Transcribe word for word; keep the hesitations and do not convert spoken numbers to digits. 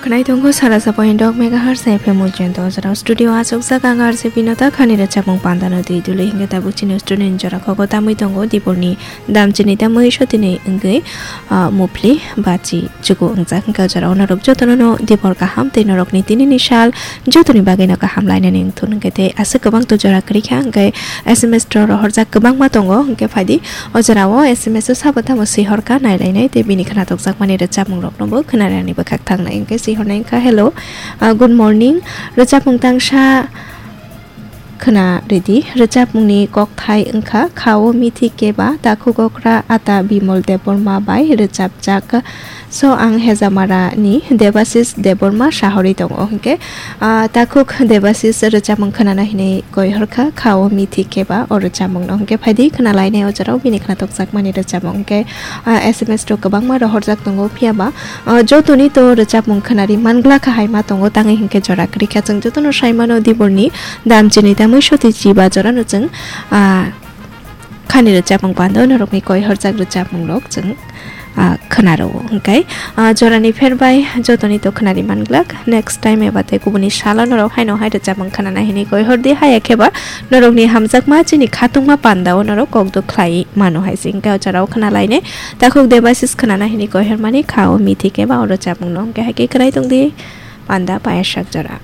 Khwnai tongo sara sabo indok megahertz F M ujento jora studio aswk jak ang R J Binota khani rwchapmung pandano twi dului hingke tabuk chini studio ni jora kogo tamwi tongo diporni dam chini tamwi sotini wngwi, ah, mupli bachi chuku wngjak hingke jora onorok jotono no dipor kaham tei norokni tinini sal jotoni bagwi no kaham lainani wngthun hingke tei aswk kwbang to jora kwrwi kha hingke S M S to rohorjak kwbangma tongo hingke phaidi. O jorao S M S o sabo tamo swi horkha nailainai tei bini khwnathokjakmani rwchapmungroknobo khwnarani bwkhak thangnai hwnkhe swi hornai wngkha, "Hello, ah, good morning. Rwchapmung tangsa khwna rwdi." Rwchapmungni kokthai wngkha, "Khao mithi keba, takhuk okra ata Bimol Debbarma bai rwchapjak." So ang Hejamara ni Debasis Debbarma sahorwi tongo hwnkhe, ah, takhuk Debasis rwchapmung khwnana hinwi koi horkha, "Khao mithi keba o rwchapmung no." Hwnkhe phaidi khwnalainai o jorao bini khwnathokjakmani rwchapmung hwnkhe, ah, S M S rok kwbangma rohorjak tongo, phiyaba, ah, jotoni to rwchapmung khwnari manglakha hai ma tongo, tangwi hwnkhe jora kwrwikha. Chwng jotono saimano diporni dam chini tamwi soti chiba jorano chwng, ah, khani rwchapmung pando norokni koi horjak rwchapmung rok chwng, ah, khwnaro hwnkhe, ah, jorani pher bai jotoni to khwnari manglak. Next time eba tei kubuni salo norok haino hai rwchapmung khwnana hinwi koi hordi, haya kheba norokni hamjakma chini khatungma pandao norok kokduk khlai mano hai se hwnkhe o jorao khwnalainai. Takhuk Debasis khwnana hinwi koi hormani, "Khao mithi keba o rwchapmung no." Hwnkhe hai khe khwnai tongdi panda payasak jora.